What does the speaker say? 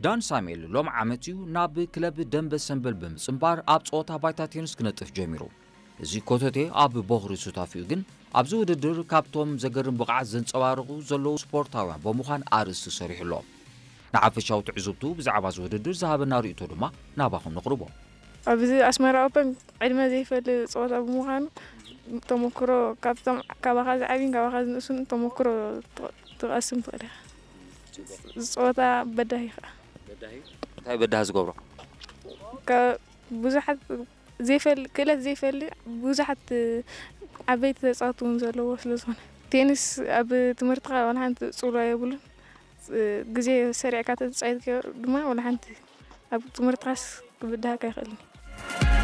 ዳን ሳሙኤል ሎም ዓመት እዩ ናብ ክለብ ደንበ ሰምበል ብምጽንባር ኣብ ጸወታ ባይታ ቴኒስ ክነጥፍ ጀሚሩ። እዚ ኮተቴ ኣብ ቦኽሪ ሱታፊኡ ግን ኣብዚ ውድድር ካብቶም ዘገርም ብቕዓት ዘንጸባርቑ ዘለዉ ስፖርታውያን ብምዃን ኣርእስቲ ሰሪሑ ኣሎ። ንሓፈሻዊ ትዕዝብቱ ብዛዕባ እዚ ውድድር ዝሃበና ርእይቶ ድማ ናባኹም ነቕርቦ። ኣብዚ ኣስመራ ኦፐን ዕድመ ዘይፈሊ ጸወታ ብምዃኑ ተመክሮ ካብቶም ካባኻ ዝዓብይን ካባኻ ዝንእሱን ተመክሮ ትቐስም ትኽእል ኢኻ። ዝጸወታ በዳሂ ከዓ እንታይ በዳሂ ዝገብሮ? ብዙሓት ዘይፈል ክእለት ዘይፈሊ ብዙሓት ዓበይቲ ተጻወትቲ እውን ዘለዎ ስለ ዝኾነ ቴኒስ ኣብ ትምህርትኻ ዋላ ሓንቲ ጽልዋ የብሉን። ግዜ ሰሪዕካ ተተጻወትካዮ ድማ ዋላ ሓንቲ ኣብ ትምህርትኻስ ክብድሃካ ይኽእልን።